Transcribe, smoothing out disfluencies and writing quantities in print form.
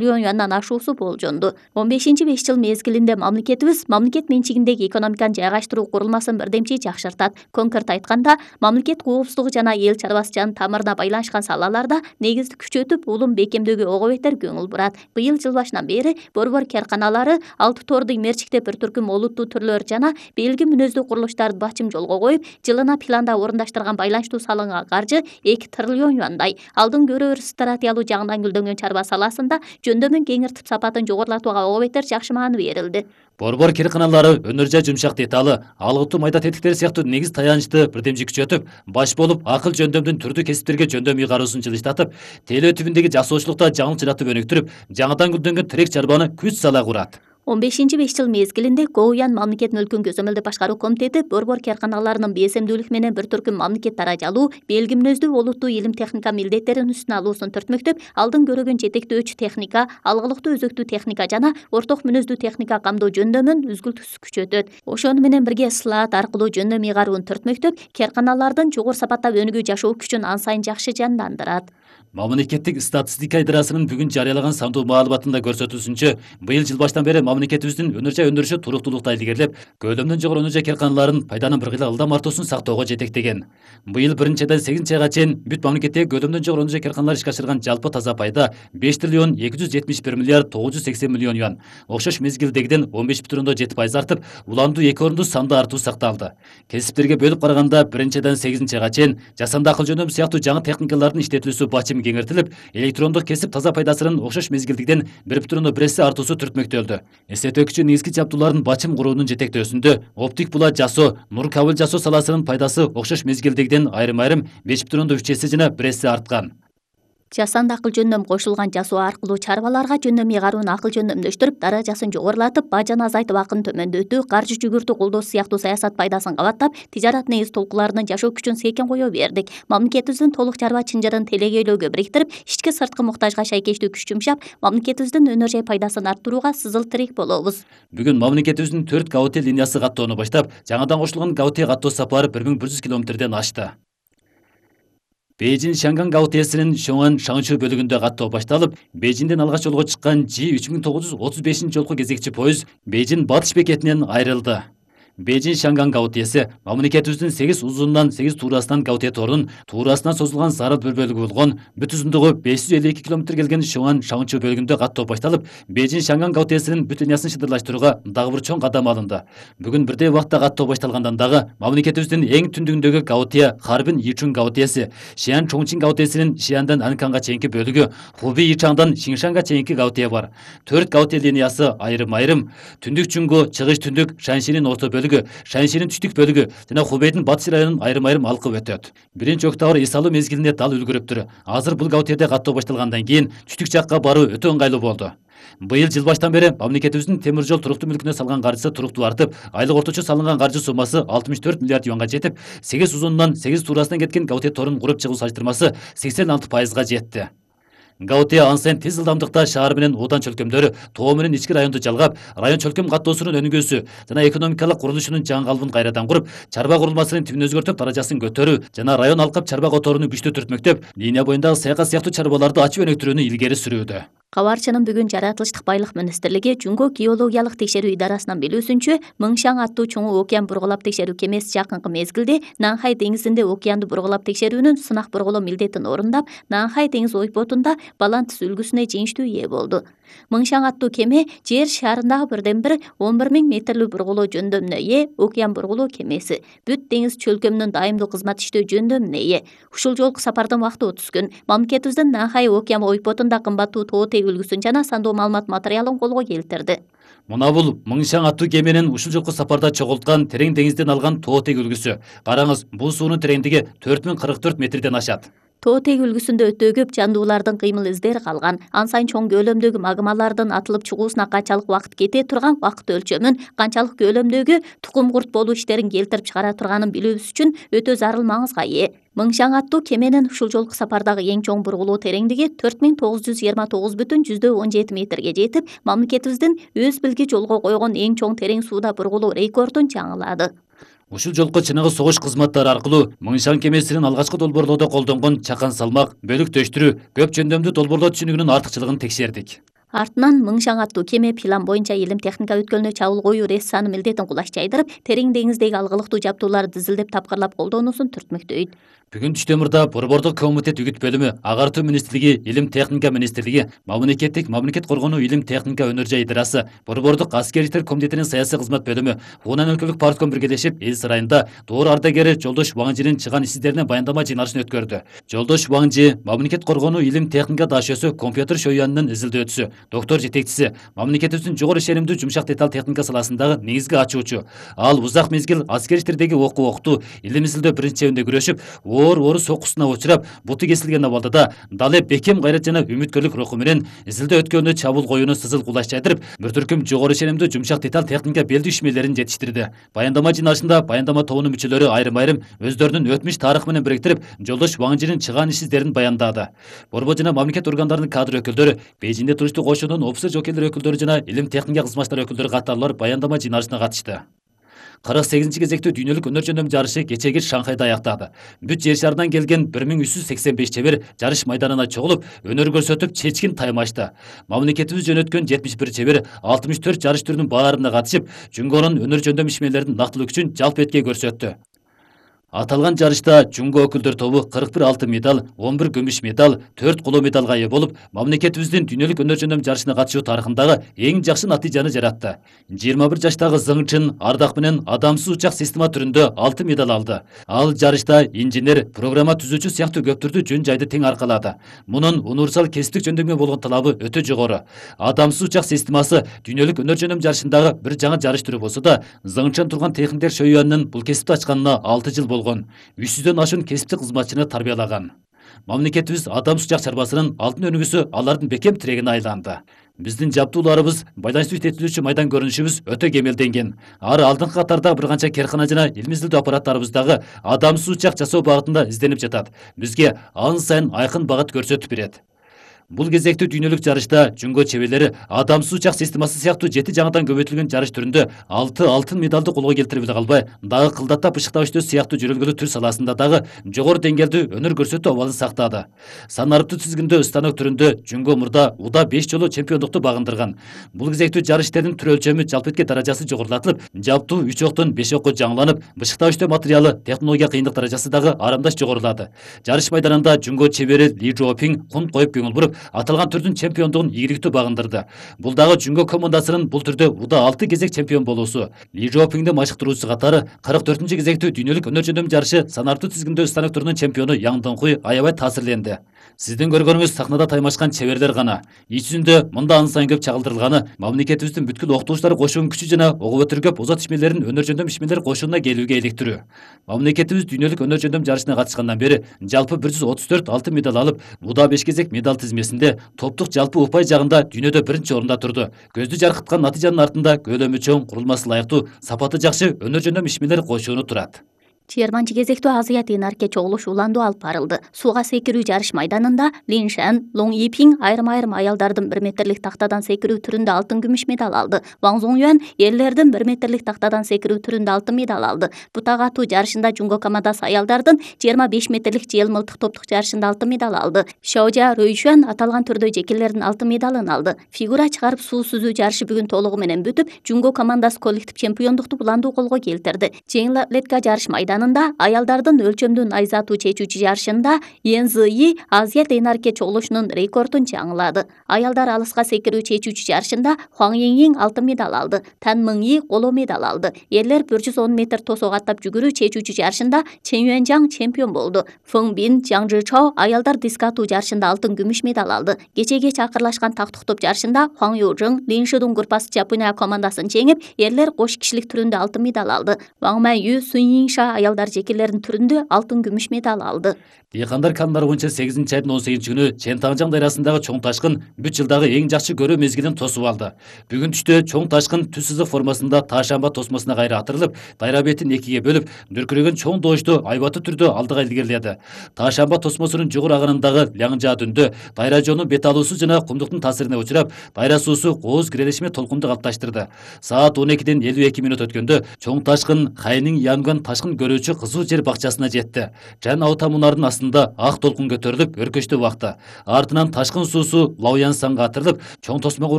миллион юандан ашуусу болжонду. 15-5 жыл мезгилинде мамлекет менчигиндеги экономиканы жайгаштыруу курулмасын бирдемчи жакшыртат. Конкрет айтканда, мамлекет коопсуздугу жана эл чарбачылыгынын тамырына байланышкан салаларда негизди күчөтүп, улум бекемдөөгө ого бетер көңүл бурат. Быйыл жыл башынан бери борбор карканалары алты торду мерчиктеп бир түркүм олуттуу түрлөр жана белги мүнөздүү курулуштарды бачым жолго коюп, жылына планда орундаштырган байланыштуу салынган каржы 2 триллион юандай. Алдын көрөбүр стратегиялуу жагынан гүлдөнгөн чарба саласында жөндөмүн кеңиртип сапатын жогорулатууга ого бетер жакшы мааны берилди. Борбор карканалары өнөр жай жумшак деталы, алгытуу майда тетиктер сыяктуу негиз таянычты бирдемчи күчөтүп, баш болуп акыл жөндөмдүн түрдүү кесиптерге жөндөм ыйгаруусун жылыштатып, телөө түбүндөгү жасоочулукта жаңылык жаратып өнүктүрүп, жаңыдан гүлдөнгөн тирек чарбаны күч сала курат. 15-5 жыл мезгилинде Гоуян мамлекет мүлкүн көзөмөлдөп башкаруу комитети борбор карканаларынын бесемдүүлүк менен бир түркүм мамлекет даражалуу, белги мүнөздүү олуттуу илим техника милдеттерин үстүнө алуусун түртмөктөп, алдын көрөгөн жетектөөчү техника, алгылыктуу өзөктүү техника жана орток мүнөздүү техника камдоо жөндөмүн үзгүлтүксүз күчөтөт. Ошону менен бирге слаат аркылуу жөндөм ыйгарууну түртмөктөп, карканалардын жогору сапаттап өнүгүү жашоо күчүн ан сайын жакшы жандандырат. Мамлекеттик статистика идарасынын бүгүн жарыялаган сандуу маалыматында көрсөтүлүшүнчө, быйыл жыл баштан бери мамлекетибиздин өнөр жай өндүрүшү туруктуулукта илгерилеп, көлөмдөн жогору өнөр жай карканаларынын пайданын бир кыйла ылдам артуусун сактоого жетектеген. Быйыл 1-ден 8 айга чейин бүт мамлекеттеги көлөмдөн жогору өнөр жай карканалар ишке ашырган жалпы таза пайда 5 триллион 271 миллиард 980 миллион юан. Окшош мезгилдегиден 15,7% артып, уландуу 2 орунду санды артуу сакталды. Кесиптерге бөлүп караганда 1-ден 8 айга чейин жасанды акыл жөндөм сыяктуу жаңы техникалардын иштетилүүсү бачым кеңиртилип, электрондук кесип таза пайдасынын окшош мезгилдигиден 1,1 артуусу түртмөктөлдү. Эстетүүчү негизги жабдуулардын бачым куруунун жетектөөсүндө оптик булат жасоо, нур кабыл жасоо саласынын пайдасы окшош мезгилдигиден айрым-айрым 5,3 жана 1 арткан. Жасанды акыл жөндөм кошулган жасоо аркылуу чарбаларга жөндөм ыйгарууну акыл жөндөмдөштүрүп, даражасын жогорулатып, бажаны азайтып, акын төмөндөтүү, каржы жүгүртүү колдоо сыяктуу саясат пайдасын кабаттап, тижарат негиз толкуларынын жашоо күчүн сейкен кое бердик. Мамлекетибиздин толук чарба чынжырын телегейлөөгө бириктирип, ички сырткы муктажга шайкештүү күч жумшап, мамлекетибиздин өнөр жай пайдасын арттырууга сызыл тирек болобуз. Бүгүн мамлекетибиздин 4 ГАУТЕ линиясы каттоону баштап, жаңадан кошулган ГАУТЕ каттоо сапары 1100 километрден ашты. Бейжин-Шанган ГАУТЕсинин Шоңан Шаңчу бөлүгүндө каттоо башталып, Бейжинден алгач жолго чыккан G3935 жолку кезекчи пойыз Бейжин батыш бекетинен айрылды. Бейжин-Шанган ГАУТЕси мамлекетибиздин 8 узунунан 8 туурасынан ГАУТЕ торунун туурасынан созулган зарыл бир бөлүгү болгон, бүт узундугу 552 км келген Шоңан Шаңчу бөлүгүндө каттоо башталып, Бейжин-Шанган ГАУТЕсинин бүтүн линиясын шыдырлаштырууга дагы бир чоң кадам алынды. Бүгүн бирдей убакта каттоо башталгандан дагы мамлекетибиздин эң түндүгүндөгү ГАУТЕ Харбин Ичун ГАУТЕси, Шиан Чоңчин ГАУТЕсинин Шиандан Анканга чейинки бөлүгү, Хуби Ичаңдан Шиншанга чейинки ГАУТЕ бар. 4 ГАУТЕ линиясы айрым-айрым түндүк Чуңгу, чыгыш түндүк, Шаншинин орто бөлүгү, Шаншинин түштүк бөлүгү жана Хубейдин батыш районун айрым-айрым алкып өтөт. Биринчи октябрь эс алуу мезгилинде дал үлгүрүптүр. Азыр бул ГАУТЕде каттоо башталгандан кийин түштүк жакка баруу өтө ыңгайлуу болду. Быйыл жыл баштан бери мамлекетибиздин темир жол туруктуу мүлкүнө салган каржысы туруктуу артып, айлык орточо салынган каржы суммасы 64 миллиард юанга жетип, 8 узунунан 8 туурасынан кеткен ГАУТЕ торун куруп чыгуу салыштырмасы 86%га жетти. ГАУТЕ ан сайын тез ылдамдыкта шаар менен Уудан чөлкөмдөрү, Тоо менен ички районду жалгап, район чөлкөм каттоосунун өнүгүүсү жана экономикалык курулушунун жаңы калыбын кайрадан куруп, чарба курулмасынын тибин өзгөртүп, даражасын көтөрүү жана район алкап чарба которууну күчтүү түртмөктөп, линия боюндагы саякат сыяктуу чарбаларды ачып өнүктүрүүнү илгери сүрүүдө. Кабарчынын бүгүн жаратылыштык байлык министрлиги Жуңго геологиялык текшерүү идарасынан билүүсүнчө, Мыңшаң аттуу чоң океан бургулап текшерүү кемеси жакынкы мезгилде Нанхай деңизинде океанды бургулап текшерүүнүн сынак бургулоо милдетин орундап, Нанхай деңиз ойпотунда Балантис үлгүсүнө жеңиштүү ээ болду. Мыңшаң аттуу кеме жер шарындагы бирден бир 11.000 метрлүү бургулоо жөндөмүнө ээ океан бургулоо кемеси. Бүт деңиз чөлкөмүнүн дайымдуу кызмат иштөө жөндөмүнө ээ. Ушул жолку сапардын убакыты 30 күн. Мамлекетибиздин Нанхай океан ойпотунда кымбаттуу Тоотег үлгүсүн жана сандуу маалымат материалын колго келтирди. Мына бул Мыңшаң аттуу кеменин ушул жолку сапарда чогулткан терең деңизден алган Тоотег үлгүсү. Караңыз, бул суунун тереңдиги 4044 метрден ашат. Тоотег үлгүсүндө өтө көп жандуулардын кыймыл издери калган. Ан сайын чоң көлөмдөгү магмалардын атылып чыгуусуна канчалык убакыт кете турган убакыт өлчөмүн, канчалык көлөмдөгү тукум курт болуу иштерин келтирип чыгара турганын билүүбүз үчүн өтө зарыл маңызга ээ. Мыңшаң аттуу кеменин ушул жолку сапардагы эң чоң бургулоо тереңдиги 4929,17 метрге жетип, мамлекетибиздин өз билги жолго койгон эң чоң терең сууда бургулоо рекордун жаңылады. Ушул жолку чыныгы согуш кызматтары аркылуу Мыңшаң кемесинин алгачкы долбоорлоодо колдонгон чакан салмак, бөлүк төштүрүү, көп жөндөмдүү долбоорлоо түшүнүгүнүн артыкчылыгын текшердик. Артынан Мыңшаң аттуу кеме план боюнча илим техника өткөлүнө чабуул коюу рейс милдетин кулаш жайдырып, терең деңиздеги алгылыктуу жабдууларды дизилдеп тапкырлап колдонуусун түртмөктөйт. Бүгүн түштөмүрдө Борбордук комитет үгүт бөлүмү, Агартуу министрлиги, Илим техника министрлиги, мамлекет коргонуу илим техника өнөр жай идырасы, Борбордук аскерликтер комитетинин саясий кызмат бөлүмү, Хунан өлкөлүк партком биргелешип, эл сарайында Доор ардагери Жолдош Ваңжинин чыган иштерине баяндама жыйналышын өткөрдү. Жолдош Ваңжи мамлекет коргонуу илим техника дашөсү компьютер шоюанынын изилдөөчүсү, доктор жетекчиси, мамлекетибиздин жогору ишенимдүү жумшак деталь техника саласындагы негизги ачуучу. Ал узак мезгил аскер иштердеги окуу, илим изилдөө биринчи чебинде күрөшүп, оор соккусуна учурап, буту кесилген абалда далы бекем гайрат жана үмүткөрлүк руху менен изилдөө өткөнү чабуул коюуну сызыл кулаш жайдырып, бир түркүм жогору ишенимдүү жумшак деталь техника белдүү ишмерлерин жетиштирди. Баяндама жыйналышында баяндама тобунун мүчөлөрү айрым өздөрүнүн өтмүш тарыхы менен бириктирип, Жолдош Ваңжинин чыган иш издерин баяндады. Борбор жана мамлекет органдарынын кадр өкүлдөрү, Бейжиңде туруштуу кошуунун офицер жокейлер өкүлдөрү жана илим техника кызматчылар өкүлдөрү катарлар баяндама жыйналышына катышты. 48-ci кезектүү дүйнөлүк өнөр жөндөм жарышы кечеги Шанхайда аяктады. Бүт жер шарынан келген 1385 чебер жарыш майданына чогулуп, өнөр көрсөтүп, чечкин тайм ачты. Мамлекетибиз жөнөткөн 71 чебер 64 жарыш түрүнүн баарына катышып, Жунгонун өнөр жөндөм ишмерлеринин нактылык үчүн жалпы этке көрсөттү. Аталган жарышта Жунго өкүлдөр тобу 41 алтын медаль, 11 күмүш медаль, 4 коло медалга ээ болуп, мамлекетибиздин дүйнөлүк өнөр жөндөм жарышына катышуу тарыхындагы эң жакшы натыйжаны жаратты. 21 жаштагы Зыңчын ардак менен адамсыз учак система түрүндө алтын медаль алды. Ал жарышта инженер, программа түзүүчү сыяктуу көптүрдү жөн жайды тең аркалады. Мунун универсал кесиптик жөндөмгө болгон талабы өтө жогору. Адамсыз учак системасы дүйнөлүк өнөр жөндөм жарышындагы бир жаңы жарыш түрү болсо да, Зыңчын турган техниктер шоюанынын бул кесипти ачканына 6 жыл 300дөн ашуун кесиптик кызматчыны тарбиялаган. Мамлекетибиз адамсыз учак чарбасынын алтын өнүгүүсү алардын бекем тирегине айланды. Биздин жабдууларыбыз, байланыштуу жетилүүчү майдан көрүнүшүбүз өтө кемелденген. Ары алдыңкы катарда бир канча керкана жана илим изилдөө аппараттарыбыз дагы адамсыз учак жасоо багытында изденип жатат. Бизге ан сайын айкын багыт көрсөтүп берет. Бул кезектүү дүйнөлүк жарышта Жунго чеберлери адамсыз учак системасы сыяктуу 7 жаңыдан көбөйтүлгөн жарыш түрүндө 6 алтын медалды колго келтире биле калбай, дагы кылдаттап ышыктап иштөө сыяктуу жөрөлгөлүү түр саласында дагы жогору деңгээлдүү өнөр көрсөтүү абалын сактады. Санариптуу тизгиндөө станок түрүндө Жунго мурда уда 5 жолу чемпиондукту багындырган. Бул кезектүү жарыштердин түр өлчөмү жалпы этке даражасы жогорулатылып, жабдуу 3 октон 5 окко жаңыланып, бышыктап иштөө материалы, технология кыйындык даражасы дагы арамдаш жогорулады. Жарыш майданында Жунго чебери Ли Жоопинг кун коюп көңүл буруп, аталган түрдүн чемпиондугун ийгиликтүү багындырды. Бул дагы Жунго командасынын бул түрдө уда 6 кезек чемпион болуусу. Ли Жоопингди машыктыруучу катары 44-cü кезектүү дүйнөлүк өнөр жөндөм жарышы санариптуу тизгиндөө станок түрүнүн чемпиону Яң Доңкуй аябай таасирленди. Сиздин көргөнүңүз сахнада таймашкан чеберлер гана. Ич жүзүндө мында ан сайын көп чагылдырылганы мамлекетибиздин бүткүл окутуучулар кошуун күчү жана ого өтөр көп озат ишмерлерин өнөр жөндөм ишмерлер кошууна келүүгө иликтирүү. Мамлекетибиз дүйнөлүк өнөр жөндөм жарышына катышкандан бери жалпы 134 алтын медаль алып, уда 5 кезек медаль тизмесинде топтук жалпы упай жагында дүйнөдө биринчи орунда турду. Көздү жаркыткан натыйжанын артында көлөмү чоң, курулмасы ылайыктуу, сапаты жакшы өнөр жөндөм ишмерлер кошууну турат. 20-cı кезектүү Азия тыйнарке чогулуш уланду алып барылды. Сууга секирүү жарыш майданында Лин Шэн, Лоң Ипинг айрым аялдардын 1 метрлик тактадан секирүү түрүндө алтын күмүш медаль алды. Ваң Зоңюан эрлердин 1 метрлик тактадан секирүү түрүндө алтын медаль алды. Бутак атуу жарышында Жунго командасы аялдардын 25 метрлик жел мылтык топтук жарышында алтын медаль алды. Шаожа Рөйшуан аталган түрдө жекелердин алтын медалын алды. Фигура чыгарып суу сүзүү жарышы бүгүн толугу менен бүтүп, Жунго командасы коллектив чемпиондукту буландуу колго келтирди. Жеңил атлетика жарыш майданында аялдардын өлчөмдүү найза атуу чечүүчү жарышында Ен Зыйи Азия тыйнарке чогулушунун рекордун жаңылады. Аялдар алыска секирүү чечүүчү жарышында Хуаң Йиң алтын медаль алды. Тан Мыңи коло медаль алды. Эрлер 110 метр тосок аттап жүгүрүү чечүүчү жарышында Чен Юанжаң чемпион болду. Фeng Бин, Жаң Жычао аялдар диск атуу жарышында алтын күмүш медаль алды. Кечеге чакырлашкан тактык топ жарышында Хуаң Южың, Лин Шидун группасы Жапония командасын жеңип, эрлер кош кишилик түрүндө алтын медаль алды. Ваң Май Ю, Сун Йиңша аялдар жекелердин түрүндө алтын күмүш медаль алды. Дыйкандар кандар боюнча 8-ci айдын 18-ci күнү Чен Таңжаң дайрасындагы чоң ташкын бүт жылдагы эң жакшы көрүү мезгилин тосуп алды. Бүгүн түштө чоң ташкын түз сызык формасында Таашамба тосмосуна кайра атырылып, дайра бетин экиге бөлүп, дүркүрөгөн чоң доочту айбаттуу түрдө алдыга илгериледи. Таашамба тосмосунун жогору агынындагы Ляңжа дүндө дайра жоонун бет алуусу жана кумдуктун таасирине учурап, дайра суусу кооз кирелешме толкунду калыпташтырды. Саат 12-ден 52 мүнөт өткөндө чоң ташкын Хайнин Янган ташкын көрүүчү кызыл жер бакчасына жетти. Жан аута мунардын астында ак толкун көтөрүлүп өркөчтөп акты. Артынан ташкын суусу Лаоянсанга атырылып, чоң тосмо